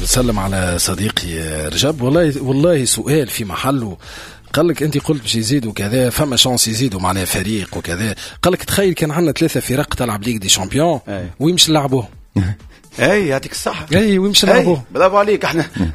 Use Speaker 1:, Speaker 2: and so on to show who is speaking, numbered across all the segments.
Speaker 1: نسلم على صديقي رجب، والله والله سؤال في محله. قال لك انت قلت باش يزيدوا كذا، فما chance يزيدوا معناها فريق وكذا. قال لك تخيل كان عندنا ثلاثة فرق تلعب Ligue des champions، وين باش نلعبوه؟
Speaker 2: اي يعطيك الصحة.
Speaker 1: اي وين باش نلعبوه؟
Speaker 2: برافو عليك.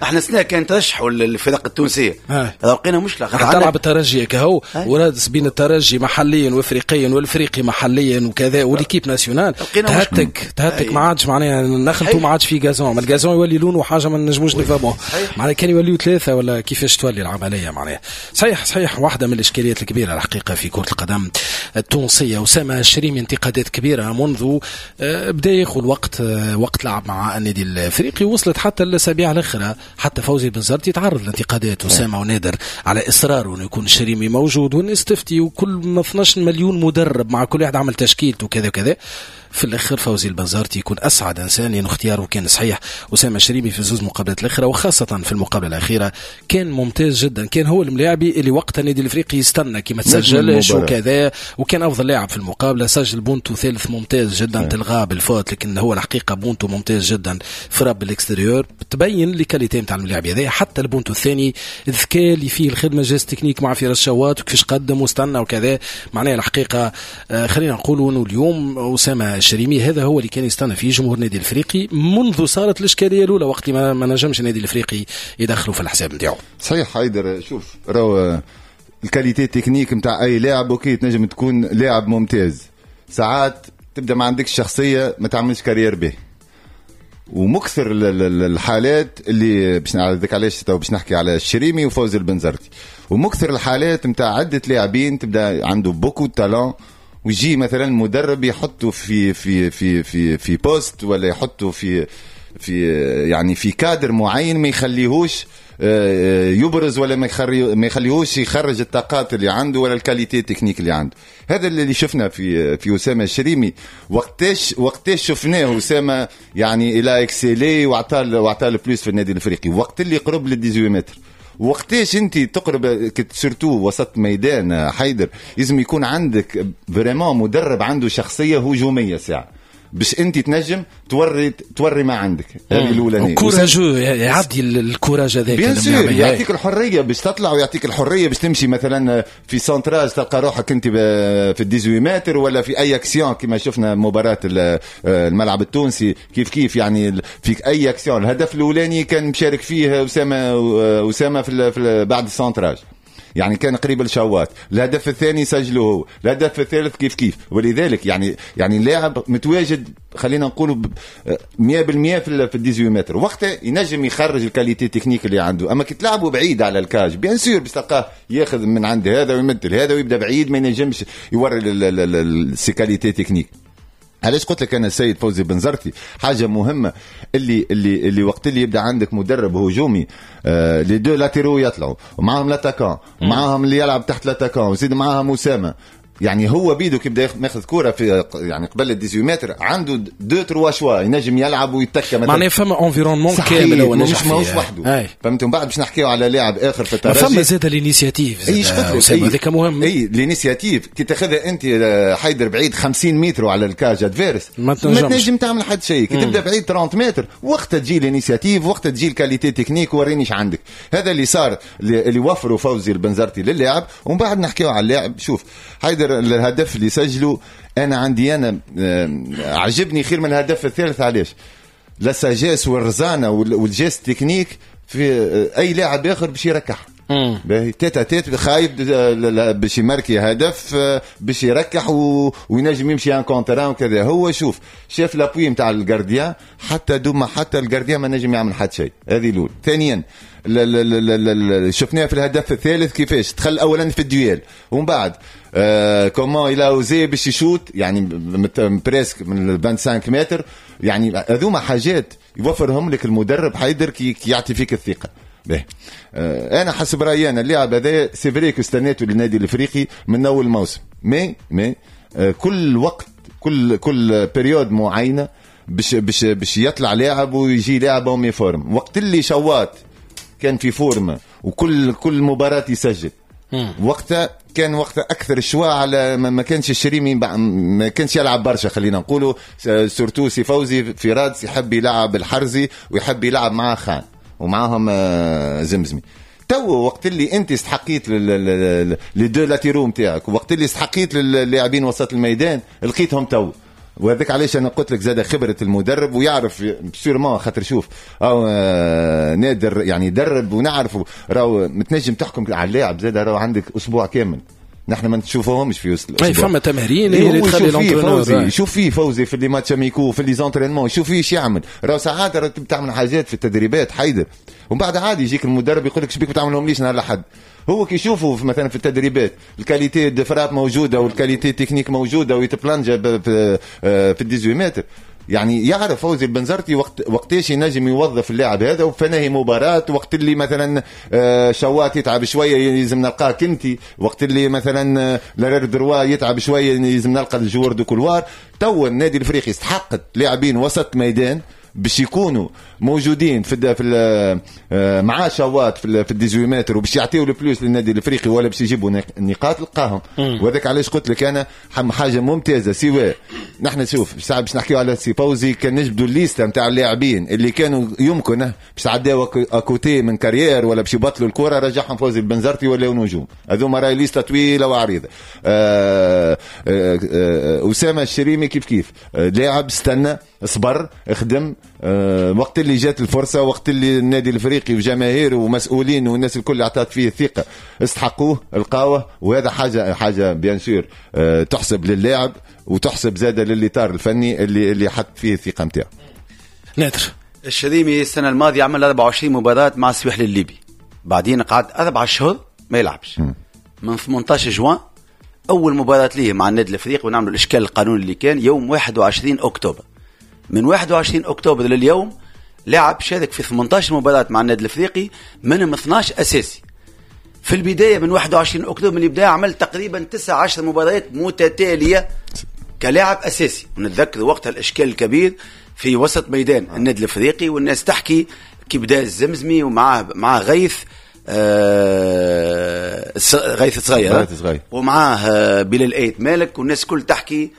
Speaker 2: احنا سنة كان ترشحوا الفرق التونسية، لقينا مشكلة.
Speaker 1: تلعب الترجي كهو ورادس بين الترجي محليا وافريقيا والافريقي محليا وكذا و l'équipe nationale تهتك تهتك، ما عادش معناها نخلطوا، ما عادش في gazon، ما ال gazon يولي لونه حاجة ما نجموش نفهموه. معناها كان يوليو ثلاثة ولا كيفاش تولي العملية معناها. صحيح صحيح، واحدة من الاشكاليات الكبيرة الحقيقة في كرة القدم التونسية. أسامة الشريمي انتقادات كبيرة منذ بدا ياخذ وقت لعب مع النادي الافريقي، وصلت حتى الاسابيع الاخرى، حتى فوزي بنزرتي تعرض لانتقادات اسامة ونادر على اصراره انه يكون الشريمي موجود، والناس تفتي وكل ما 12 مليون مدرب مع كل واحد عمل تشكيلته وكذا وكذا. في الاخر فوزي البنزرتي يكون اسعد انسان لانه اختياره كان صحيح. اسامة الشريمي في زوز مقابلات الاخرى وخاصة في المقابلة الاخيرة كان ممتاز جدا، كان هو الملاعبي اللي وقت النادي الافريقي يستنى كي ما تسجلش وكذا، وكان افضل لاعب في المقابله، سجل بونتو ثالث ممتاز جدا تلغاه بال faute، لكن هو الحقيقة بونتو ممتاز جدا frappe بال extérieur تبين les qualités نتاع الملاعب هذا. حتى البونتو الثاني الذكاء اللي فيه الخدمه، geste technique مع فراس شوات وكيفاش قدم واستنى وكذا. معناها الحقيقة خلينا نقولوا انه اليوم اسامة الشريمي هذا هو اللي كان يستنى فيه جمهور النادي الافريقي منذ صارت الاشكالية الاولى وقت اللي ما نجمش النادي الافريقي يدخله في الحساب نتاعو.
Speaker 3: صحيح حيدر، شوف راهو ال qualité technique نتاع اي لاعب OK تنجم تكون لاعب ممتاز، ساعات تبدا ما عندكش شخصية ما تعملش carrière به. ومكثر الحالات اللي باش نعرضك علاش تو باش نحكي على الشريمي وفوزي البنزرتي، ومكثر الحالات نتاع عده لاعبين تبدا عنده beaucoup talent ويجي مثلا مدرب يحطه في poste ولا يحطه في يعني في كادر معين ما يخليهوش يبرز ولا ما يخليهوش يخرج الطاقات اللي عنده ولا ال qualité technique اللي عنده. هذا اللي شفنا في اسامة الشريمي. وقتاش شفناه اسامة يعني il a excellé وعطى ال plus في النادي الافريقي؟ وقت اللي قرب لل 18 متر. وقتاش انت تقرب surtout وسط ميدان حيدر لازم يكون عندك vraiment مدرب عنده شخصية هجومية ساعة باش انت تنجم توري ما عندك. هذه الاولانيه.
Speaker 1: courageux، يعدي ال courage هذاك.
Speaker 3: bien sûr يعطيك الحرية باش تطلع ويعطيك الحرية باش تمشي مثلا في centrage تلقى روحك انت في 18 متر ولا في اي اكسيون كما شفنا مباراة الملعب التونسي كيف كيف، يعني في اي اكسيون. الهدف الاولاني كان مشارك فيه اسامه في بعد ال centrage، يعني كان قريب الشوات. الهدف الثاني سجله هو، الهدف الثالث كيف كيف. ولذلك يعني اللاعب متواجد خلينا نقولوا 100% في 18 متر، وقتها ينجم يخرج ال qualité technique اللي عنده. اما كي تلعبوا بعيد على ال cage bien sûr باش تلقاه ياخذ من عند هذا ويمد هذا ويبدا بعيد، ما ينجمش يوري ses qualités techniques. علاش قلت لك انا السيد فوزي بنزرتي حاجة مهمة اللي وقت اللي يبدا عندك مدرب هجومي les deux latéraux يطلعوا ومعاهم l'attaquant ومعاهم اللي يلعب تحت l'attaquant وزيد معاهم اسامه، يعني هو بيدو كي بدا ياخذ كورة في يعني قبل ال 18 متر عنده deux trois choix ينجم يلعب ويتكى
Speaker 1: مثلا، معناها فما environnement كامل
Speaker 3: هو مش ماهوش وحده، فهمت. ومن بعد باش نحكيو على لاعب اخر في الترجي
Speaker 1: فما زاد l'initiative.
Speaker 3: اي
Speaker 1: هذاك مهم.
Speaker 3: اي l'initiative كي تاخذها انت حيدر بعيد 50 متر على ال cage adverse ما تنجم تعمل حد شيء. كي تبدا بعيد 30 متر وقتها تجي l'initiative، وقتها تجي ال qualité technique ورينيش عندك. هذا اللي صار اللي وفروا فوزي البنزرتي للاعب. ومن بعد نحكيو على اللاعب. شوف حيدر الهدف اللي سجله انا عندي انا عجبني خير من الهدف الثالث. علاش؟ la sagesse والرزانه وال geste technique في اي لاعب اخر باش يركح باهي tête à tête خايب باش يماركي هدف باش يركح وينجم يمشي un contre un وكذا. هو شوف شاف l'appui نتاع ال gardien حتى دوما حتى ال gardien ما نجم يعمل حتى شيء. هذه الاولى. ثانيا شفناه في الهدف الثالث كيفاش دخل اولا في ال duel ومن بعد comment il a osé باش يشوت يعني presque من 25 متر. يعني هذوما حاجات يوفرهم لك المدرب حيدر كي يعطي فيك الثقة. باهي انا حسب رايي انا اللاعب هذا c'est vrai que استنيته للنادي الافريقي من اول موسم، mais كل وقت كل période معينة باش يطلع لاعب ويجي لاعب méforme. وقت اللي شوات كان في forme وكل مباراة يسجل وقتها كان وقت اكثر choix على ما كانش الشريمي ما كانش يلعب برشا، خلينا نقولوا surtout سي فوزي في رادس يحب يلعب الحرزي ويحب يلعب مع خان ومعاهم زمزمي. تو وقت اللي انت استحقيت les deux latéraux نتاعك، وقت اللي استحقيت للاعبين وسط الميدان لقيتهم تو. وهذاك علاش انا قلت لك زاد خبره المدرب ويعرف sûrement، خاطر شوف او نادر يعني درب ونعرفه، راهو متنجم تحكم على اللاعب زاد، راهو عندك اسبوع كامل نحن ما نشوفوهمش في وسط
Speaker 1: الاسبوع. اي فما تمارين اللي تخلي
Speaker 3: l'entraîneur يشوف فيه فوزي في les matchs amicaux في les entraînements، يشوف فيه ايش يعمل. راهو ساعات تعمل حاجات في التدريبات حيدر، ومن بعد عادي يجيك المدرب يقول لك شبيك ما تعملهم ليش نهار الاحد. هو كي يشوفوا مثلا في التدريبات ال qualité de frappe موجودة وال qualité technique موجودة ويتبلانجا في 18 متر، يعني يعرف فوزي البنزرتي وقتاش ينجم يوظف اللاعب هذا وفنهي مباراة. وقت اللي مثلا شوات يتعب شوية يلزم نلقاه كنتي، وقت اللي مثلا l'arrière droit يتعب شوية يلزم نلقى ال joueur de couloir. تو النادي الافريقي استحقت لاعبين وسط ميدان باش يكونوا موجودين في مع شوات في 18 متر وباش يعطيو ال plus للنادي الافريقي ولا باش يجيبوا النقاط لقاهم. وهذاك علاش قلت لك انا حاجة ممتازة. سواء نحن شوف ساعة باش نحكيو على سي فوزي، كان نجبدوا الليستة نتاع اللاعبين اللي كانوا يمكن باش تعداو à côté من carrière ولا باش يبطلوا الكره، رجعهم فوزي البنزرتي ولاو نجوم. هذوما راهي ليسته طويلة وعريضه. اسامة الشريمي كيف كيف لاعب استنى صبر خدم، وقت اللي جات الفرصة، وقت اللي النادي الافريقي وجماهيره ومسؤولين والناس الكل اعطت فيه الثقة استحقوه لقاوه. وهذا حاجة bien sûr تحسب للاعب وتحسب زاده للاطار الفني اللي حط فيه الثقة نتاعو.
Speaker 1: نادر
Speaker 2: الشريمي السنة الماضية عمل 24 مباراة مع السويحلي الليبي، بعدين قعد 4 شهور ما يلعبش. من 18 جوان اول مباراة ليه مع النادي الافريقي، ونعملوا الاشكال القانوني اللي كان يوم 21 اكتوبر. من 21 اكتوبر لليوم لعب، شارك في 18 مباراة مع النادي الافريقي، منهم 12 اساسي. في البداية من 21 اكتوبر من البداية عمل تقريبا 19 مباريات متتالية كلاعب اساسي، ونتذكر وقتها الاشكال الكبير في وسط ميدان النادي الافريقي، والناس تحكي كي بدا الزمزمي ومعاه مع غيث غيث صغير ومعاه بلال ايت مالك، والناس كل تحكي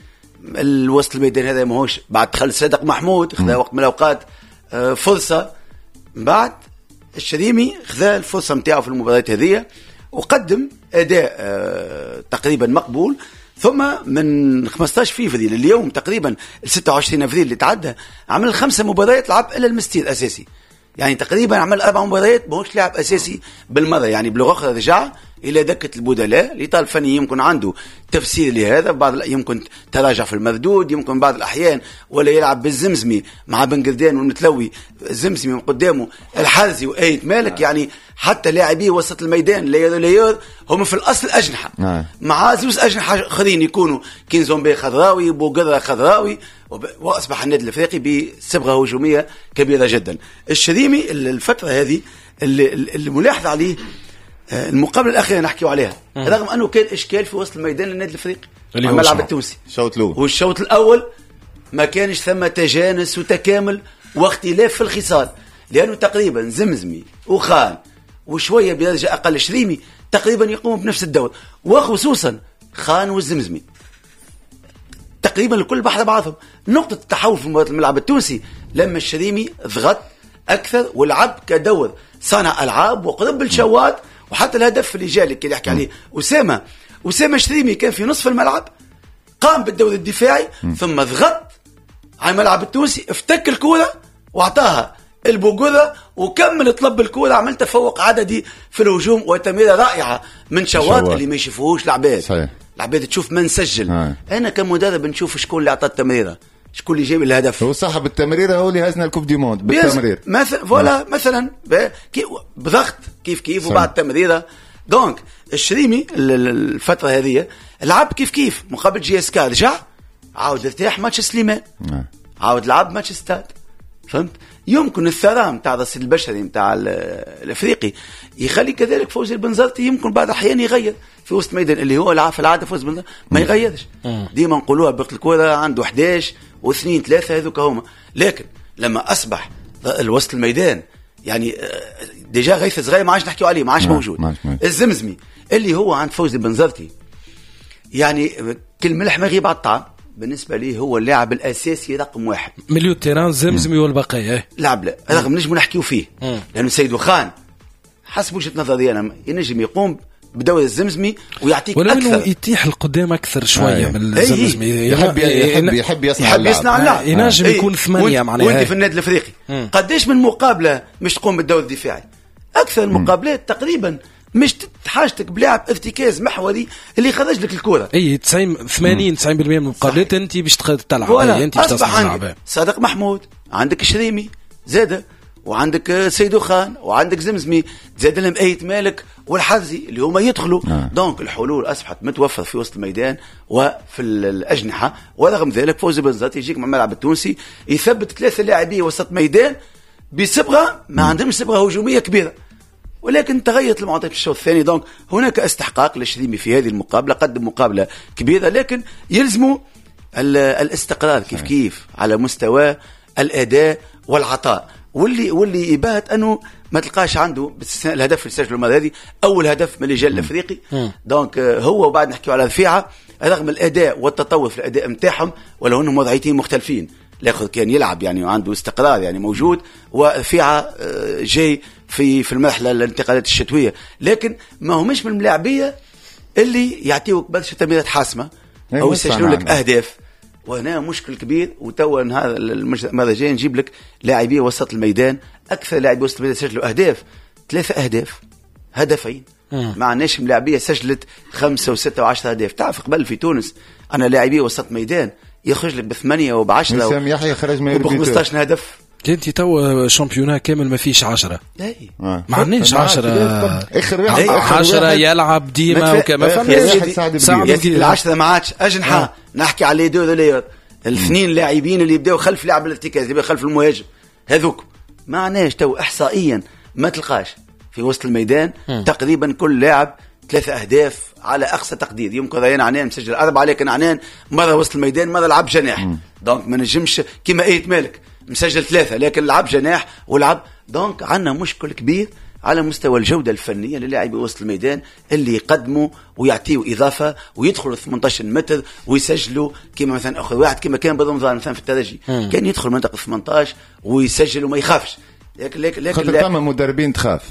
Speaker 2: الوسط الميدان هذا ماهوش. بعد دخل صادق محمود خذا وقت من الاوقات فرصة، من بعد الشريمي خذا الفرصة نتاعو في المباريات هذه وقدم اداء تقريبا مقبول. ثم من 15 فيفري لليوم تقريبا 26 افريل اللي تعدى عمل 5 مباريات لعب الا المستير اساسي، يعني تقريبا عمل 4 مباريات ماهوش لاعب اساسي بالمرة. يعني بلغه اخرى رجع الى دكه البدلاء. الاطار الفني يمكن عنده تفسير لهذا، بعض يمكن تراجع في المردود، يمكن بعض الاحيان ولا يلعب بالزمزمي مع بن قردان والمتلوي، الزمزمي من قدامه الحرزي وايت مالك. يعني حتى لاعبي وسط الميدان ليور هم في الاصل اجنحة مع زوز اجنحة اخرين يكونوا كينزومبي خضراوي بوقره خضراوي، واصبح النادي الافريقي بصبغه هجومية كبيرة جدا. الشريمي الفترة هذه اللي ملاحظ عليه المقابلة الاخيرة نحكيو عليها، رغم انه كان اشكال في وسط الميدان للنادي الافريقي الملعب التونسي
Speaker 3: الشوط الاول،
Speaker 2: والشوط الاول ما كانش ثم تجانس وتكامل واختلاف في الخصال، لانه تقريبا زمزمي وخان وشوية بدرجة اقل شريمي تقريبا يقوموا بنفس الدور، وخصوصا خان والزمزمي تقريبا الكل بحر بعضهم. نقطة التحول في مباراة الملعب التونسي لما الشريمي ضغط اكثر ولعب كدور صانع العاب وقرب الشوات، وحتى الهدف اللي جاء اللي يحكي عليه اسامة شريمي كان في نصف الملعب، قام بالدور الدفاعي ثم ضغط على الملعب التونسي، افتك الكره واعطاها البوغوره وكمل طلب الكره، عمل تفوق عددي في الهجوم وتمريره رائعة من شواط اللي ما يشوفوهوش العباد. العباد تشوف من سجل. انا كمدرب نشوف شكون اللي اعطى التمريره، شكون اللي جاب الهدف.
Speaker 3: هو صاحب التمريره هو اللي هزنا ال coupe du monde بالتمرير
Speaker 2: مثلا، voilà مثلا بضغط كيف كيف وبعد التمريره. donc الشريمي الفترة هذه لعب كيف كيف مقابل JSK، رجع عاود ارتاح ماتش سليمان، عاود لعب ماتش ستاد. فهمت؟ يمكن الثراء نتاع الرصيد البشري نتاع الافريقي يخلي كذلك فوزي البنزرتي يمكن بعض الاحيان يغير في وسط ميدان اللي هو في العادة فوزي البنزرتي ما يغيرش، ديما نقولوها بقت الكره عنده 11 و2 3 هذوك هما. لكن لما اصبح الوسط الميدان يعني déjà غيث صغير ما عادش نحكيو عليه، ما عادش موجود. الزمزمي اللي هو عند فوزي بنزرتي يعني كل ملح ما يغيب على الطعام. بالنسبة لي هو اللاعب الاساسي رقم 1
Speaker 1: milieu terrain زمزمي والبقية.
Speaker 2: لاعب لا رغم نجم نحكيو فيه لانه سيد خان حسب وجهه نظري انا ينجم يقوم بدور الزمزمي ويعطيك
Speaker 1: ولو
Speaker 2: اكثر،
Speaker 1: انه يتيح القدام اكثر شوية من الزمزمي.
Speaker 3: يحب يصنع
Speaker 1: اللعب، ينجم يكون 8 معناها.
Speaker 2: وانت في النادي الافريقي قداش من مقابله مش تقوم بالدور الدفاعي؟ اكثر المقابلات تقريبا مش حاجتك بلاعب ارتكاز محوري اللي يخرج لك الكره.
Speaker 1: اي 90 80 90% من المقابلات انت باش تلعب، انت باش تصنع اللعب.
Speaker 2: صادق محمود، عندك شريمي زاده، وعندك سيدو خان، وعندك زمزمي، زاد لهم ايت مالك والحرزي اللي هما يدخلوا. donc الحلول اصبحت متوفرة في وسط الميدان وفي الاجنحة. ورغم ذلك فوزي بنزرتي يجيك مع الملعب التونسي يثبت 3 لاعبين وسط ميدان بصبغه ما عندهمش صبغة هجومية كبيرة، ولكن تغيرت المعطيات في الشوط الثاني. donc هناك استحقاق للشريمي في هذه المقابلة، قدم مقابله كبيرة، لكن يلزموا الاستقرار كيف كيف على مستوى الاداء والعطاء. واللي يبات انه ما تلقاش عنده باستثناء الهدف اللي سجله المرة هذه، اول هدف من اللجان الافريقي. donc هو وبعد نحكيو على رفيعة، رغم الاداء والتطور في الاداء نتاعهم ولو انهم وضعيتين مختلفين، الاخر كان يلعب يعني وعنده استقرار يعني موجود، ورفيعه جاي في المرحلة الانتقالات الشتوية، لكن ما همش من الملاعبيه اللي يعطيوك برشا تمريرات حاسمة او يسجلوا لك اهداف. وهنا مشكل كبير. وتوا نهار المرة الجاية نجيب لك لاعبي وسط الميدان، اكثر لاعبي وسط الميدان سجلوا اهداف 3 اهداف، هدفين. ما عندناش ملاعبيه سجلت 5 و6 و10 اهداف. تعرف قبل في تونس انا لاعبي وسط ميدان يخرج لك ب8 وب10
Speaker 3: وسام يحيى خرج ما
Speaker 2: ب 15 هدف.
Speaker 1: انت توا championnat كامل ما فيش 10. ما عندناش 10.
Speaker 3: اخر واحد
Speaker 1: 10 يلعب ديما وكما
Speaker 2: فما العشرة ما عادش اجنحة. نحكي على les deux relayeurs، الاثنين لاعبين اللي يبداو خلف لاعب الارتكاز، اللي يبداو خلف المهاجم، هذوك ما عندناش تو احصائيا ما تلقاش في وسط الميدان. تقريبا كل لاعب 3 اهداف على اقصى تقدير. يمكن ريان عنان مسجل 4، لكن عنان مرة وسط الميدان مرة لعب جناح. donc ما نجمش كيما ايت مالك مسجل 3 لكن لعب جناح ولعب. donc عندنا مشكل كبير على مستوى الجودة الفنية للاعبي وسط الميدان اللي يقدموا ويعطيوا إضافة ويدخلوا 18 متر ويسجلوا، كما مثلا أخذ واحد كما كان برمضان مثلا في الترجي، كان يدخل منطقة 18 ويسجل وما يخافش. لكن
Speaker 3: خاطر فما مدربين تخاف.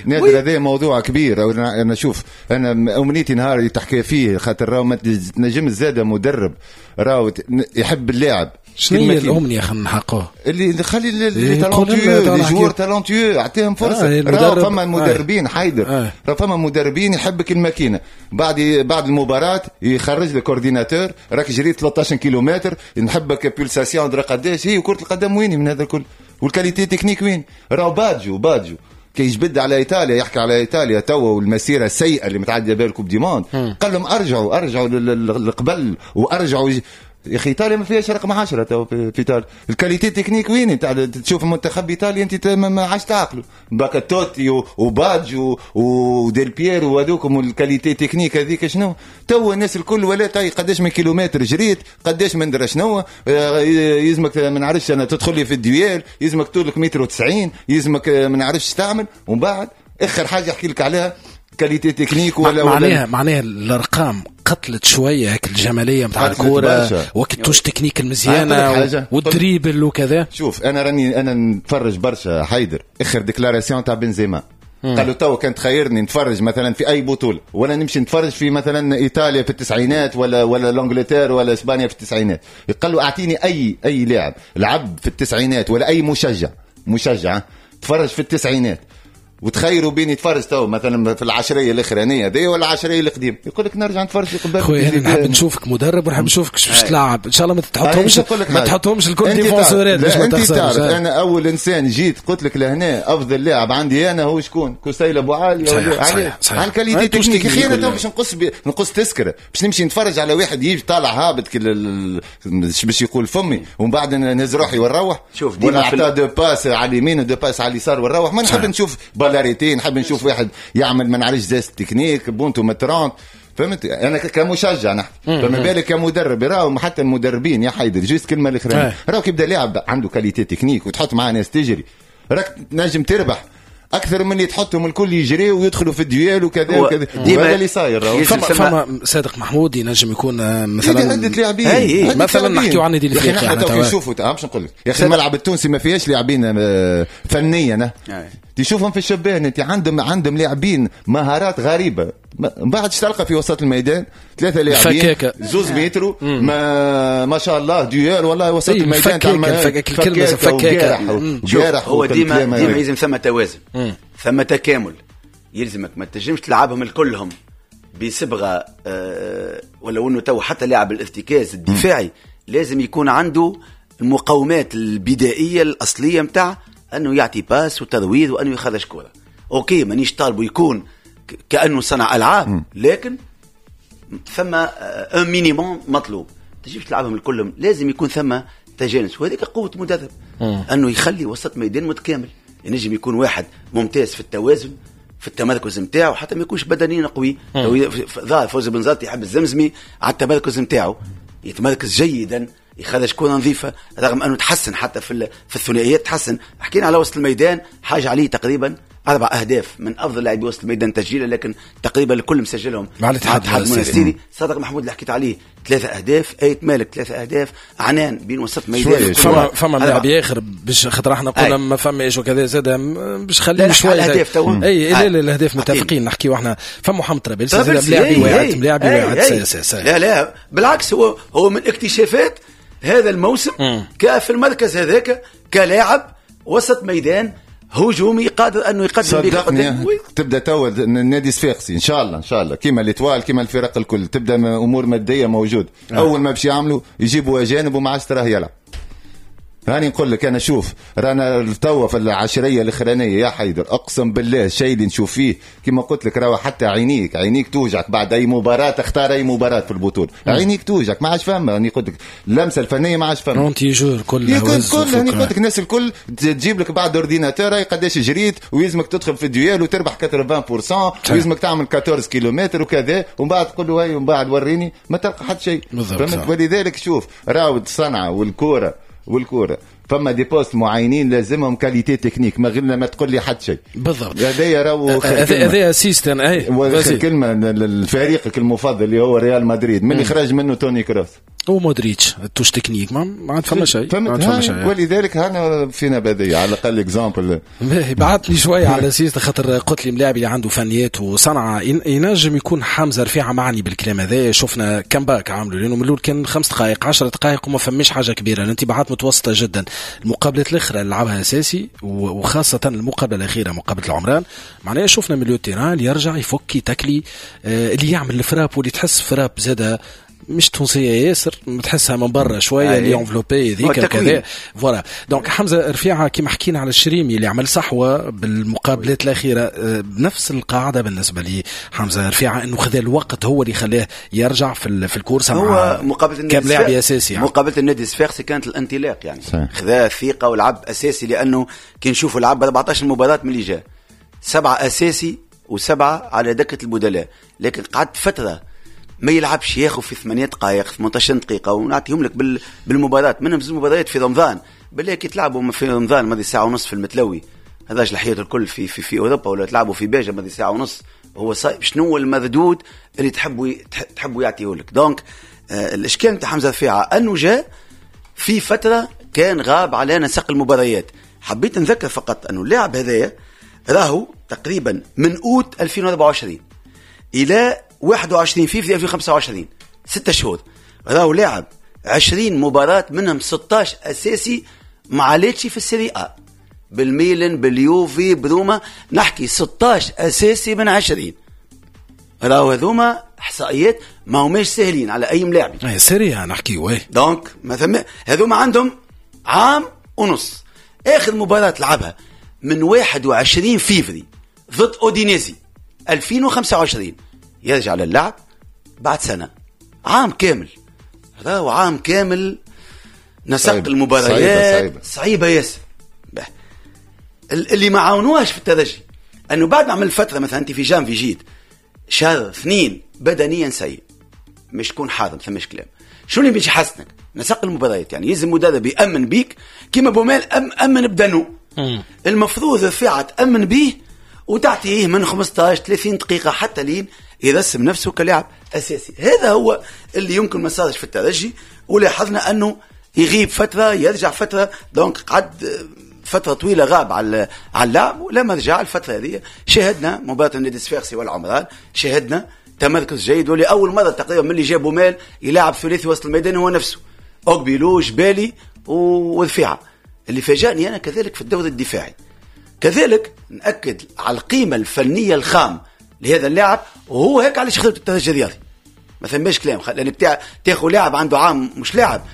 Speaker 3: نادر هذا موضوع كبير. انا شوف، انا امنيتي نهار تحكي فيه، خاطر راهو ما تنجم زاده مدرب راهو يحب اللاعب.
Speaker 1: شنو هي الامنية خلينا نحققوها؟
Speaker 3: اللي خلي les talentueux، les joueurs talentueux، اعطيهم فرصة. راهو فما مدربين حيدر، راهو فما مدربين يحبك الماكينة. بعد المباراة يخرج لك coordinateur، راك جريت 13 كيلومتر، نحبك pulsation درا قداش هي كره القدم وين من هذا الكل، وال qualité technique وين؟ راهو بادجو كي يجبد على ايطاليا، يحكي على ايطاليا توا والمسيره السيئة اللي متعدية بها ال coupe du monde، قال لهم ارجعوا للقبل وارجعوا. يا اخي ايطاليا ما فيهاش رقم 10 تو في ايطاليا. ال qualité technique وين؟ تشوف المنتخب ايطاليا انت ما عادش تعقلوا، باكا توتي وباجو وديل بيرو وهذوكم، وال qualité technique هذيك شنو؟ تو الناس الكل ولا تاي قداش من كيلومتر جريت، قداش من درا شنو يلزمك، ما نعرفش انا تدخل لي في ال duel، يلزمك طولك متر و90، يلزمك ما نعرفش تعمل. ومن بعد اخر حاجة احكي لك عليها qualité technique ولا
Speaker 1: معناها الارقام قتلت شوية هيك الجمالية نتاع الكورة وقت touche technique المزيانه وال dribble وكذا.
Speaker 3: شوف انا راني انا نتفرج برشا حيدر. اخر déclaration تاع بنزيما قال له تو كان تخيرني نتفرج مثلا في اي بطوله ولا نمشي نتفرج في مثلا ايطاليا في التسعينات ولا l'Angleterre ولا اسبانيا في التسعينات، قال له اعطيني اي لاعب لعب في التسعينات ولا اي مشجع تفرج في التسعينات وتخيروا بين يتفرج تو مثلا في العشريه الاخرانية دي ولا العشريه القديم، يقول لك نرجع نتفرج في قبل.
Speaker 1: خويا انا نحب نشوفك مدرب ونحب نشوفك باش تلعب ان شاء الله. ما تحطهمش الكل défenseur ات باش ما تخسرش.
Speaker 3: انا اول انسان جيت قلت لك لهنا افضل لاعب عندي انا هو شكون؟ كوسيل ابو عالي. على ال qualité technique. اخي انا تو باش نقص تسكره باش نمشي نتفرج على واحد يجي طالع هابط باش يقول فمي ومن بعد نهز روحي ونروح.
Speaker 2: شوف ديما
Speaker 3: عطا deux passes على اليمين و deux passes على اليسار ونروح. ما نحب نشوف balle arrêtée، نحب نشوف واحد يعمل ما نعرفش geste technique بونتو مترونت. فهمت؟ انا كمشجع نحكي، فما بالك كمدرب. راهو حتى المدربين يا حيدر juste كلمة الاخرانية، راهو كيبدا لاعب عنده qualité technique وتحط معاه ناس تجري راك تنجم تربح. اكثر من اللي تحطهم الكل يجري ويدخلوا في ال duel وكذا وكذا. هذا اللي صاير.
Speaker 1: فما صادق محمود ينجم يكون مثلا
Speaker 3: عدة لاعبين
Speaker 1: مثلا نحكيو عن النادي الافريقي.
Speaker 3: احنا نشوفوا باش نقول لك يا اخي الملعب التونسي ما فيهاش لاعبين فنيا، تشوفهم في الشبان انت عندهم لاعبين مهارات غريبة. من بعد تلقى في وسط الميدان ثلاثة لاعبين زوز مترو ما شاء الله duel والله وسط الميدان
Speaker 1: الكلمة
Speaker 2: فكاكه. هو ديما يلزم ثم توازن، ثم تكامل، يلزمك ما تنجمش تلعبهم الكلهم بصبغه ولو انه تو حتى لاعب الارتكاز الدفاعي لازم يكون عنده المقومات البدائية الاصلية نتاع انه يعطي passe وترويض وانه يخرج كره. OK مانيش طالبه يكون كانه صنع العاب، لكن ثم un minimum مطلوب. تجيب تلعبهم الكلهم لازم يكون ثم تجانس، وهذيك قوة مدرب انه يخلي وسط ميدان متكامل. ينجم يكون واحد ممتاز في التوازن في التمركز نتاعو، حتى ما يكونش بدنيا قوي. ظاهر فوزي بنزرتي يحب الزمزمي على التمركز نتاعو، يتمركز جيدا، يخرج كرة نظيفة، رغم أنه تحسن حتى في الثنائيات تحسن. حكينا على وسط الميدان حاجة عليه تقريبا 4 أهداف من أفضل لاعبي وسط الميدان تسجيلا، لكن تقريبا الكل مسجلهم
Speaker 1: مع الاتحاد
Speaker 2: المونستيري. صادق محمود اللي حكيت عليه 3 أهداف، آيت مالك 3 أهداف، عنان بين وسط ميدان.
Speaker 1: فما لاعب آخر باش خاطر احنا قلنا ما فماش وكذا زاد باش خليه شوية
Speaker 2: الأهداف تو.
Speaker 1: اي لا الأهداف متفقين نحكيو احنا. فما محمد طرابلسي زاد لاعب واعد
Speaker 2: لا لا بالعكس، هو من اكتشافات هذا الموسم في المركز هذاك كلاعب وسط ميدان هجومي قادر انه يقدم
Speaker 3: بك قدام. تبدا تو النادي الصفاقسي ان شاء الله ان شاء الله كيما l'Étoile كيما الفرق الكل تبدا امور مادية موجود. اول ما باش يعملوا يجيبوا اجانب وما عادش تراه يلعب. هاني نقول لك انا شوف رانا توا في العشريه الاخرانية يا حيدر، اقسم بالله الشيء اللي نشوف فيه كما قلت لك راهو حتى عينيك توجعك بعد اي مباراة، تختار اي مباراة في البطولة عينيك توجعك ما عادش فاهمه. راني قلت لك اللمسة الفنية ما عادش فاهمه
Speaker 1: anti-jeu كل
Speaker 3: راني قلت لك الناس الكل تجيب لك بعد ordinateur قداش جريت ويلزمك تدخل في ال duel وتربح 80% ويلزمك تعمل 14 كيلومتر وكذا، ومن بعد تقول له هاي ومن بعد وريني ما تلقى حتى شيء. فهمت؟ ولذلك شوف راهو الصنعة والكوره فما des postes معينين لازمهم qualité technique، ما غير ما تقول لي حد شيء.
Speaker 1: بالضبط
Speaker 3: هذايا راهو
Speaker 1: هذايا système.
Speaker 3: اي كلمة لفريقك المفضل اللي هو ريال مدريد من اللي خرج منه توني كروس
Speaker 1: ومودريتش ال touche technique ما عاد فما شيء، ما عاد فما شيء.
Speaker 3: ولذلك هنا فينا بديه على الاقل exemple.
Speaker 1: بعثني شوية على سيست خاطر قلت لي ملاعب اللي عنده فنيات وصنعه ينجم يكون حمزة رفيعة معني بالكلام هذا. شفنا comeback عاملوا لانه من الاول كان 5 دقائق 10 دقائق وما فماش حاجة كبيرة، الانتباهات متوسطه جدا. المقابلات الاخرى اللي لعبها اساسي وخاصة المقابلة الاخيرة مقابله العمران، معناها شفنا milieu terrain اللي يرجع يفك تاكلي اللي يعمل ال frappe واللي تحس frappe زاده مش تونسية ياسر تحسها من برا شوية اللي enveloppée ذيك كذا voilà. donc حمزة رفيعة كيما حكينا على الشريمي اللي عمل صحوة بالمقابلات الاخيرة، بنفس القاعدة بالنسبة لي حمزة رفيعة انه خذا الوقت هو اللي خلاه يرجع في ال course
Speaker 2: هو مقابله النادي
Speaker 1: كلاعب اساسي يعني.
Speaker 2: مقابله النادي الصفاقسي كانت الانطلاق يعني خذا ثقة ولعب اساسي، لانه كي نشوفوا لعب 14 مباراة من اللي جا 7 اساسي و7 على دكه البدلاء، لكن قعدت فترة ما يلعبش، ياخذ في 8 دقائق 18 دقيقة ونعطيهم لك بالمباراة، منهم زوج مباريات في رمضان بالله كي تلعبوا في رمضان ماضي ساعة ونص في المتلوي هذاش الحياة الكل في في في أوروبا، ولا تلعبوا في باجة ماضي ساعة ونص، هو صايب شنو المردود اللي تحبوا يعطيه لك. donc الإشكال نتاع حمزة رفيعة أنه جاء في فترة كان غاب على نسق المباريات. حبيت نذكر فقط أنه اللاعب هذايا راهو تقريبا من أوت 2024 إلى 21 فيفري 2025 6 شهور راهو لاعب 20 مباراة منهم 16 أساسي مع ليتشي في ال Serie A، بالميلان باليوفي بروما، نحكي 16 أساسي من 20. راهو هذوما إحصائيات ما هماش سهلين على أي ملاعب.
Speaker 1: Serie A نحكي oui.
Speaker 2: donc مثلا هذوما عندهم عام ونص. آخر مباراة لعبها من 21 فيفري ضد أودينيزي 2025، يرجع للعب بعد سنة، عام كامل. راهو عام كامل نسق المباريات صعيبة ياسر. اللي ما عاونوهاش في الترجي أنه بعد ما عمل فترة مثلا أنت في جانفي جيت شهر 2 بدنيا سيء، مش تكون حاضر ثماش كلام. شو اللي باش يحسنك؟ نسق المباريات، يعني يلزم مدرب يأمن بيك كيما بومال أمن بدنه. المفروض رفيعة تأمن بيه وتعطيه من 15 30 دقيقة حتى لين يرسم نفسه كلاعب اساسي. هذا هو اللي يمكن ما صارش في الترجي، ولاحظنا انه يغيب فترة يرجع فترة، donc قعد فترة طويلة غاب على اللعب، ولما رجع الفترة هذه شاهدنا مباراة النادي الصفاقسي والعمران، شاهدنا تمركز جيد، ولاول مرة تقريبا من اللي جابوا مال يلعب ثلاثي وسط الميدان هو نفسه، اوغبيلو جبالي ورفيعه. اللي فاجأني انا كذلك في الدور الدفاعي، كذلك نأكد على القيمة الفنية الخام لهذا اللاعب، وهو هيك علاش خدمت الترجي الرياضي، ما ثماش كلام، لانك تاخذ لاعب عنده عام مش لاعب،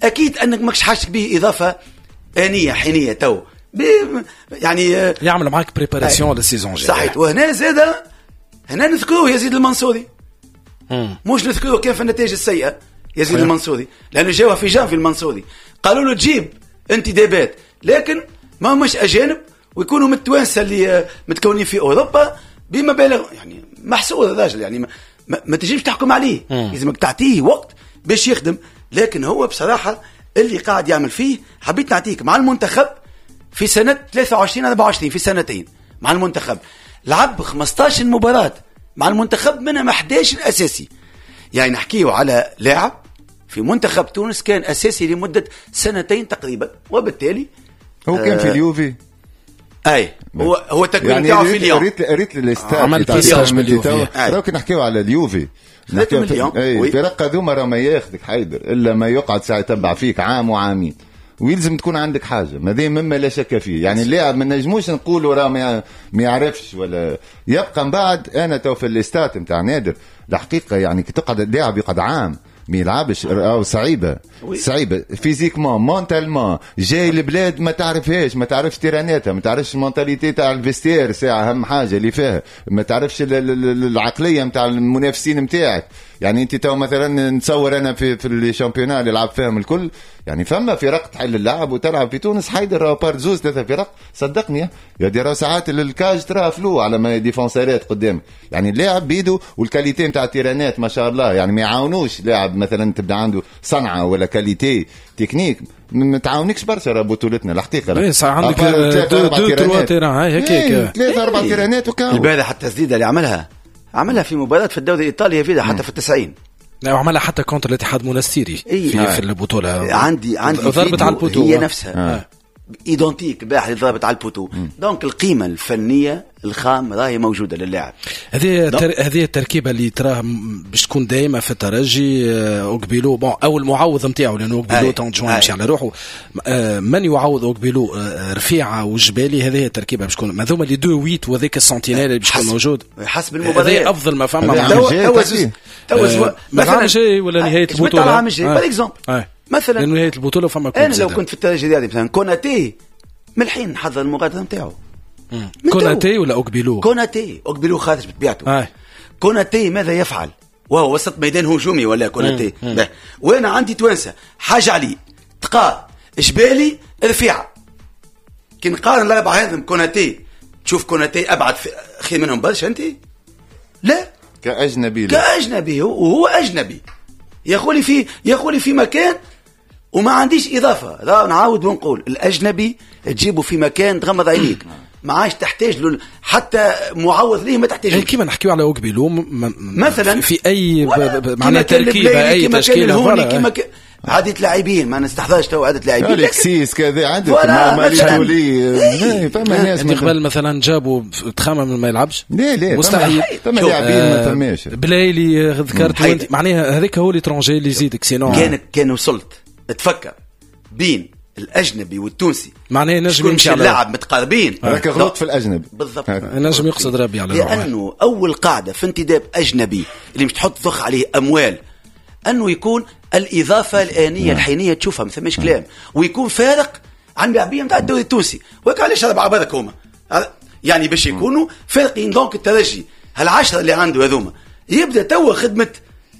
Speaker 2: اكيد انك ماكش حاجتك به اضافه انية حينيه تو يعني
Speaker 1: يعمل معاك préparation لل saison الجاي.
Speaker 2: صحيح. وهنا زاد هنا نذكروه يزيد المنصوري، مش نذكروه كيف النتائج السيئة يزيد المنصوري، لانه جاوه في جانفي المنصوري قالوا له تجيب انتدابات لكن ما مش اجانب ويكونوا من التوانسة اللي متكونين في اوروبا بمبالغ يعني محسوب الراجل، يعني ما تجيش تحكم عليه، لازمك تعطيه وقت باش يخدم. لكن هو بصراحة اللي قاعد يعمل فيه، حبيت نعطيك مع المنتخب في سنة 23 24 في سنتين مع المنتخب لعب 15 مباراة مع المنتخب، منها 11 اساسي. يعني نحكيه على لاعب في منتخب تونس كان اساسي لمدة سنتين تقريبا، وبالتالي
Speaker 3: هو كان في اليوفي.
Speaker 2: اي هو التكوين يعني تاعو في ليون.
Speaker 3: ريت ال stats عمل باليوفي. راك نحكيو على اليوفي،
Speaker 2: نحكيو
Speaker 3: اي فرق هذوما راه ما ياخذك حيدر الا ما يقعد ساعة يتبع فيك عام وعامين، ويلزم تكون عندك حاجة، ما ذي مما لا شك فيه. يعني اللاعب ما نجموش نقولوا راه ما يعرفش ولا يبقى من بعد. انا تو في ال stats نتاع نادر الحقيقة، يعني كي تقعد اللاعب يقعد عام ما يلعبش او صعيبة صعيبة physiquement mentalement، جاي البلاد ما تعرفهاش، ما تعرفش تيراناتها، ما تعرفش ال mentalité تاع ال vestiaire ساعة اهم حاجة اللي فيها، ما تعرفش العقلية نتاع المنافسين نتاعك. يعني انت تو مثلا نتصور انا في ال championnat اللي لعب فيهم الكل، يعني فما فرق تحل اللعب وتلعب في تونس حيدر par زوز ثلاثة فرق، صدقني يا دي راه ساعات ال cage تراه floue على ما défenseur ات قدامك. يعني اللاعب بيدو وال qualité نتاع التيرانات ما شاء الله، يعني ما يعاونوش لاعب مثلا تبدا عنده صنعه ولا qualité technique ما تعاونكش برشا راه بطولتنا الحقيقة.
Speaker 1: اي صح، عندك deux trois terrains هكاك،
Speaker 3: ثلاثة اربع تيرانات وكاو.
Speaker 2: البارح التسديده اللي عملها في مباراة في الدوري الإيطالي فيها حتى في 90،
Speaker 1: لا وعملها حتى contre الاتحاد المونستيري في البطولة.
Speaker 2: عندي
Speaker 1: ضربت على ال poteau
Speaker 2: هي نفسها identique البارح اللي ضربت على ال poteau. donc القيمة الفنية الخام راهي موجودة للاعب.
Speaker 1: هذه التركيبة اللي تراه باش تكون دائمة في الترجي. اوغبيلو bon او المعوض نتاعو، لانه اوغبيلو تون يمشي على روحه، من يعوض اوغبيلو؟ رفيعة وجبالي. هذه التركيبة باش تكون هذوما les deux huit وذاك ال sentinelle اللي باش يكون موجود
Speaker 2: حسب المباريات.
Speaker 1: هذا افضل ما فما.
Speaker 2: تو
Speaker 1: مثلا جاي ولا نهاية البطولة
Speaker 2: العام الجاي par exemple مثلا
Speaker 1: نهاية البطولة فما
Speaker 2: انا لو كنت في الترجي الرياضي مثلا كوناتي من الحين نحضر المغادرة نتاعو.
Speaker 1: كوناتي ولا اوغبيلو؟
Speaker 2: كوناتي. اوغبيلو خارج بطبيعته. كوناتي ماذا يفعل وهو وسط ميدان هجومي ولا كوناتي؟ وانا عندي توانسة حاجة علي تقا جبالي رفيعة، كي نقارن الاربعة هذم كوناتي تشوف كوناتي ابعد خير منهم برشا. انت لا
Speaker 3: كاجنبي،
Speaker 2: لا. كاجنبي وهو اجنبي يا في مكان وما عنديش اضافه. لا نعاود ونقول الاجنبي تجيبه في مكان تغمض عينيك ما عادش تحتاج له حتى معوض ليه، ما تحتاج.
Speaker 1: كيما نحكيو على اوغبيلو
Speaker 2: مثلا
Speaker 1: في اي معناها تركيبه اي تشكيله،
Speaker 2: كيما عدة لاعبين ما نستحضرش تو عدة لاعبين،
Speaker 3: الكسيس كذا عندك ماليتولي، فما ناس
Speaker 1: قبل مثلا جابوا تخمم ما يلعبش.
Speaker 3: لا
Speaker 1: مستحيل،
Speaker 3: فما لاعبين ما فماش.
Speaker 1: بلايلي ذكرت معناها هذاك هو l'étranger اللي يزيدك، sinon
Speaker 2: كان وصلت تفكر بين الاجنبي والتونسي
Speaker 1: معناها نجم يمشي على
Speaker 2: اللاعب متقاربين،
Speaker 3: راك غلط في الاجنبي
Speaker 2: بالضبط.
Speaker 1: نجم يقصد ربي على
Speaker 2: لانه اول قاعدة في انتداب اجنبي اللي مش تحط ضخ عليه اموال انه يكون الاضافة الانية الحينيه تشوفها ما ثماش كلام، ويكون فارق عن اللاعبين نتاع الدوري التونسي. وهيك علاش اربعة برك هما يعني باش يكونوا فارقين. donc الترجي هالعشره اللي عنده هذوما يبدا توا خدمة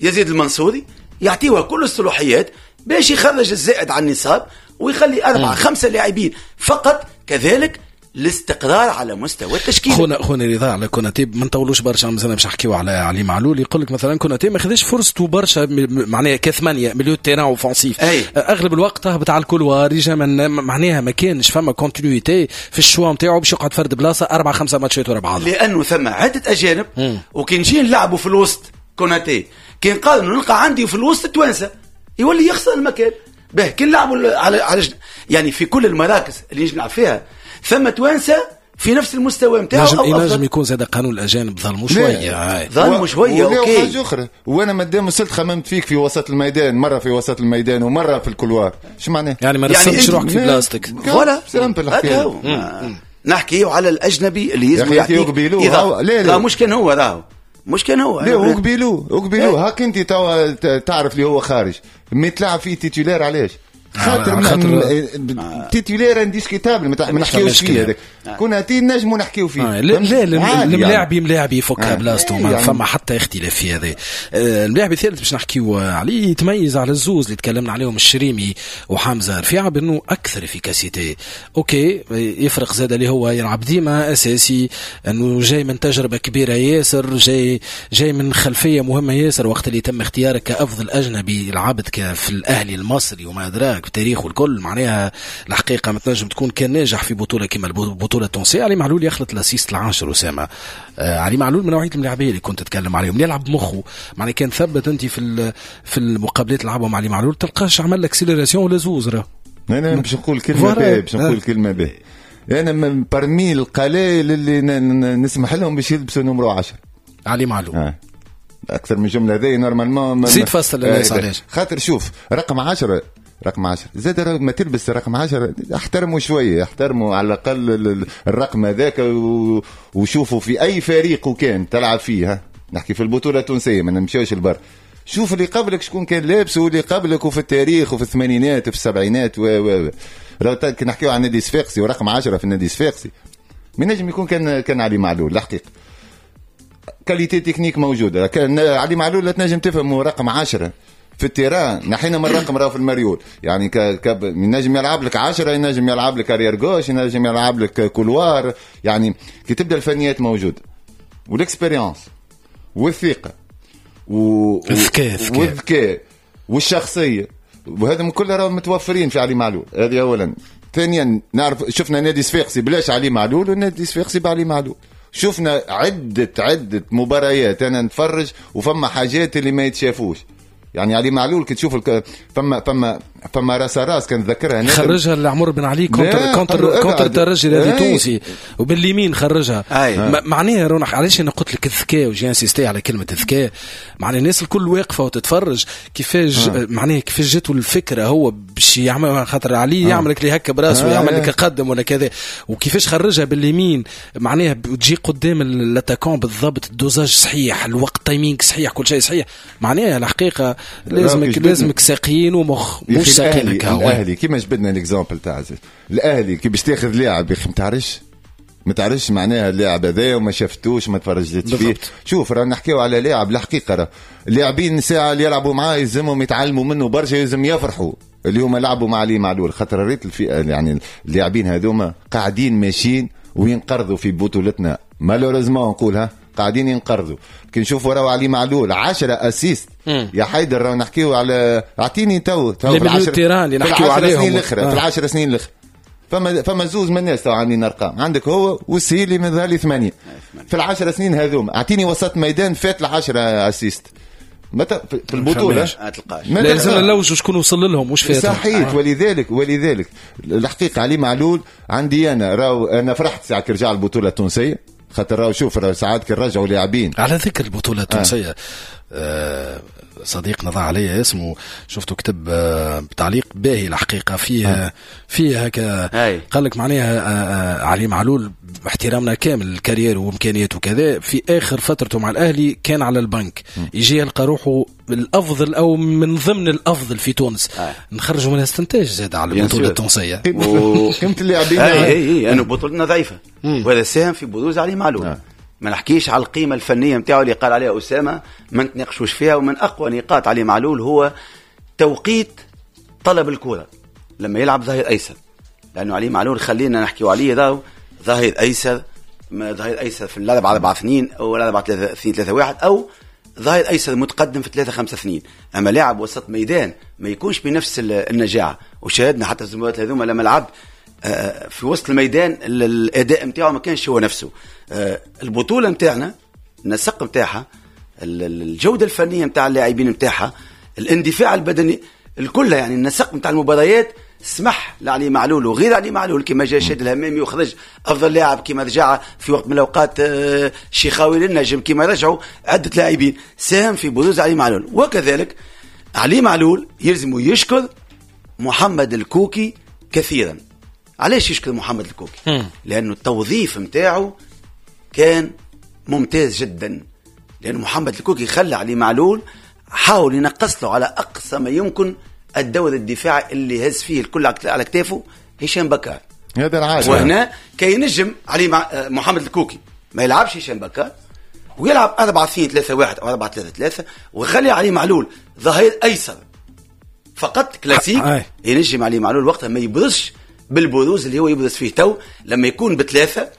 Speaker 2: يزيد المنصوري، يعطيوها كل الصلاحيات باش يخرج الزائد عن النصاب ويخلي 4 5 لاعبين فقط. كذلك الاستقرار على مستوى التشكيل.
Speaker 1: خونا رضا على كوناتي ما نطولوش برشا، مازلنا باش نحكيو على علي معلول. يقول لك مثلا كوناتي ما خذاش فرصته برشا، معناها كثمانية milieu terrain offensif، اغلب الوقت هبط على ال couloir يجا من معناها ما كانش فما continuité في ال choix نتاعو باش يقعد فرد بلاصة 4-5 ماتشات ورا بعض،
Speaker 2: لانه ثم عده اجانب. وكي نجي نلعبوا في الوسط كوناتي كي نقارن نلقى عندي في الوسط توانسة يولي يخسر المكان به. كي نلعبوا على يعني في كل المراكز اللي نلعب فيها ثم توانسة في نفس المستوى نتاعو.
Speaker 1: ينجم يكون زاد قانون الاجانب ظلموا شوية،
Speaker 2: ظلموا شوية. OK
Speaker 3: حاجة اخرى، وانا مادام وصلت خممت فيك في وسط الميدان، مرة في وسط الميدان ومرة في ال couloir، شو معناه؟
Speaker 1: يعني ما رسمتش روحك في بلاصتك.
Speaker 2: voilà simple. نحكيو على الاجنبي اللي يلزم يعطيك.
Speaker 3: لا لا
Speaker 2: مش كان هو، راهو مش كان هو.
Speaker 3: لا هو هاك انت توا تعرف اللي هو خارج mais تلعب فيه titulaire. علاش؟ خاطر titulaire indiscutable ما نحكيوش فيه هذاك. كوناتي نجمو نحكيو فيه.
Speaker 1: لا الملاعبي ملاعبي يفكها بلاصتو، ما فما حتى اختلاف في هذا. الملاعبي الثالث باش نحكيو عليه يتميز على الزوز اللي تكلمنا عليهم الشريمي وحمزة رفيعة بانه اكثر efficacité. OK يفرق زاد اللي هو يلعب ديما اساسي، انه جاي من تجربه كبيرة ياسر، جاي من خلفية مهمة ياسر وقت اللي تم اختيارك كافضل اجنبي لعبت في الاهلي المصري وما ادراك تاريخه الكل. معناها الحقيقة ما تنجم تكون كان ناجح في بطوله كما البطولة التونسية. علي معلول يخلط l'assist العاشر اسامة. علي معلول من نوعية الملاعبيه اللي كنت تتكلم عليهم، يلعب مخه، معناها كان ثبت انت في المقابلات اللي لعبهم علي معلول تلقاش عمل accélération ولا زوز. راه
Speaker 3: انا باش نقول كلمة باهيه، باش نقول كلمة باهيه. انا من parmi القلائل اللي نسمح لهم باش يلبسوا numéro 10
Speaker 1: علي معلول.
Speaker 3: اكثر من جملة هذه normalement
Speaker 1: زيد فصل للناس علاش.
Speaker 3: خاطر شوف رقم 10 رقم 10 زاد ما تلبس رقم 10 احترموا شوية، احترموا على الاقل الرقم هذاك وشوفوا في اي فريق وكان تلعب فيه. نحكي في البطولة التونسية ما نمشيوش البر. شوف اللي قبلك شكون كان لابس واللي قبلك وفي التاريخ وفي الثمانينات وفي السبعينات و كي نحكيو عن نادي صفاقسي ورقم 10 في النادي صفاقسي من نجم يكون كان علي معلول. الحقيقة qualité technique موجودة، كان علي معلول لا تنجم تفهمه رقم 10 في ال terrain، نحينا من الرقم راهو في المريول، يعني ينجم يلعب لك 10، ينجم يلعب لك arrière gauche، ينجم يلعب لك couloir. يعني كي تبدا الفنيات موجودة وال expérience والثقة والذكاء والشخصية، وهذا كله راهو متوفرين في علي معلول. هذه اولا. ثانيا نعرف شفنا نادي صفاقسي بلاش علي معلول ونادي صفاقسي بعلي معلول. شفنا عده مباريات انا نتفرج وفما حاجات اللي ما يتشافوش. يعني علي معلول كي تشوف فما فما راس راس كان ذكرها
Speaker 1: خرجها لعمر بن علي contre الترجي الرياضي التونسي وباليمين خرجها. معناها رونق علاش انا قلت لك الذكاء و j'ai insisté على كلمة الذكاء، معناها الناس الكل واقفة وتتفرج كيفاش معناها كيفاش جاتو الفكرة هو باش يعمل، خاطر علي يعمل لك اللي هكا براسه يعمل لك قدم ولا كذا، وكيفاش خرجها باليمين معناها تجي قدام l'attaquant بالضبط، ال dosage صحيح، الوقت timing صحيح، كل شيء صحيح. معناها الحقيقة لازمك ساقين ومخ مش ساقين.
Speaker 3: الاهلي كيما جبدنا l'exemple تاع الاهلي كي باش تاخذ لاعب يا اخي ما تعرفش معناها اللاعب هذا وما شفتوش ما تفرجتش فيه. شوف راه نحكيو على لاعب الحقيقة، راه اللاعبين ساعة اللي يلعبوا معاه يلزمهم يتعلموا منه برشا، يلزم يفرحوا اللي هما لعبوا مع علي معلول، خاطر ريت الفئة يعني اللاعبين هذوما قاعدين ماشيين وينقرضوا في بطولتنا malheureusement نقولها، قاعدين ينقرضوا. كي نشوفوا راهو علي معلول 10 assists يا حيدر، راهو نحكيو على اعطيني تو
Speaker 1: في العشر اللي نحكيو عليهم
Speaker 3: في 10 سنين الاخرى فما زوز من الناس تو عاملين ارقام، عندك هو والسهيلي من ذالي 8 في 10 سنين هذوما. اعطيني وسط ميدان فات 10 assists متى في البطولة
Speaker 1: لازم نلوجوا شكون وصل لهم مش فاتهم.
Speaker 3: صحيح. ولذلك الحقيقة علي معلول عندي انا راهو انا فرحت ساعة كي رجع البطولة التونسية، خاطر راهو شوف راهو ساعات كي رجعوا لاعبين.
Speaker 1: على ذكر البطولة التونسية صديقنا ضاع عليه اسمه، شفته كتب تعليق باهي الحقيقة فيه فيه هكا قال لك معناها علي معلول باحترامنا كامل ال carrière وامكانياته وكذا، في اخر فترته مع الاهلي كان على البنك، يجي يلقى روحه الافضل او من ضمن الافضل في تونس. نخرجوا منها استنتاج زاد على البطولة التونسية
Speaker 3: قيمة اللاعبين.
Speaker 2: اي انه بطولتنا ضعيفة وهذا ساهم في بروز علي معلول. ما نحكيش على القيمة الفنية نتاعو اللي قال عليها أسامة، ما نتناقشوش فيها. ومن أقوى نقاط علي معلول هو توقيت طلب الكرة لما يلعب ظهير أيسر، لأنه علي معلول خلينا نحكيو عليه ذا ظهير ايسر، ظهير ايسر في 4-4-2 او 4-2-3-1 او ظهير ايسر متقدم في 3-5-2. اما لاعب وسط ميدان ما يكونش بنفس النجاعه، وشاهدنا حتى المباريات هذوما لما لعب في وسط الميدان الاداء نتاعو ما كانش هو نفسه. البطولة نتاعنا النسق نتاعها، الجودة الفنية نتاع اللاعبين نتاعها، الاندفاع البدني الكل، يعني النسق نتاع المباريات سمح لعلي معلول وغير علي معلول، كما جاء شاد الهمامي وخرج افضل لاعب، كما رجع في وقت من الاوقات شيخاوي للنجم، كما رجعوا عده لاعبين، ساهم في بروز علي معلول. وكذلك علي معلول يلزم يشكر محمد الكوكي كثيرا. علاش يشكر محمد الكوكي؟ لانه التوظيف نتاعو كان ممتاز جدا، لأن محمد الكوكي خلى علي معلول حاول ينقص له على أقصى ما يمكن الدور الدفاعي اللي هز فيه الكل على كتافه هشام بكار.
Speaker 3: هذا العادة.
Speaker 2: وهنا كي ينجم علي محمد الكوكي ما يلعبش هشام بكار ويلعب 4-2-3-1 أو 4-3-3 ويخلي علي معلول ظهير أيسر فقط كلاسيك، ينجم علي معلول وقتها ما يبرزش بالبروز اللي هو يبرز فيه تو. لما يكون بثلاثة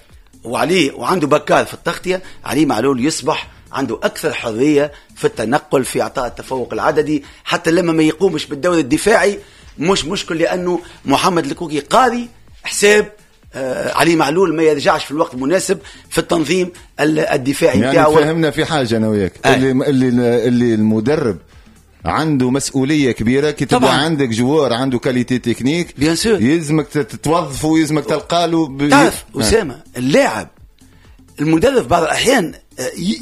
Speaker 2: وعليه وعنده بكار في التغطية، علي معلول يصبح عنده أكثر حرية في التنقل، في إعطاء التفوق العددي، حتى لما ما يقومش بالدور الدفاعي مش مشكل، لأنه محمد الكوكي قاري حساب علي معلول ما يرجعش في الوقت المناسب في التنظيم الدفاعي
Speaker 3: يعني بتاعه. فهمنا في حاجة أنا وياك اللي المدرب عنده مسؤولية كبيرة كي تبدا عندك joueur عنده qualité technique
Speaker 2: bien sûr
Speaker 3: يلزمك تتوظفه ويلزمك تلقى له.
Speaker 2: تعرف أسامة، اللاعب المدرب بعض الأحيان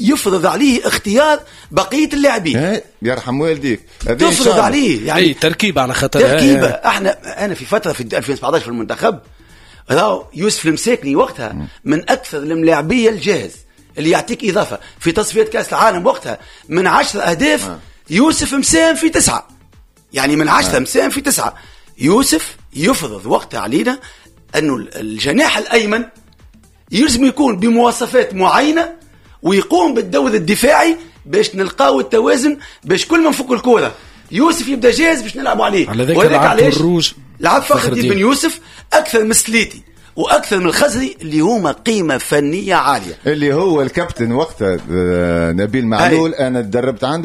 Speaker 2: يفرض عليه اختيار بقية اللاعبين.
Speaker 3: يرحم والديك،
Speaker 2: تفرض عليه يعني
Speaker 1: تركيبة على خاطر
Speaker 2: تركيبة. احنا انا في فترة في 2017 في المنتخب راهو يوسف المساكني وقتها من أكثر الملاعبية الجاهز اللي يعطيك إضافة في تصفية كأس العالم وقتها، من 10 أهداف يوسف مساهم في 9، يعني من 10 مساهم في 9. يوسف يفرض وقتها علينا أنه الجناح الأيمن يلزم يكون بمواصفات معينة ويقوم بالدور الدفاعي باش نلقاو التوازن، باش كل ما نفك الكرة يوسف يبدا جاهز باش نلعبوا عليه.
Speaker 1: وهذاك علاش
Speaker 2: لعب فخر الدين بن يوسف أكثر من سليتي وأكثر من الخزري اللي هما قيمة فنية عالية،
Speaker 3: اللي هو الكابتن وقتها نبيل معلول. أنا تدربت عنده.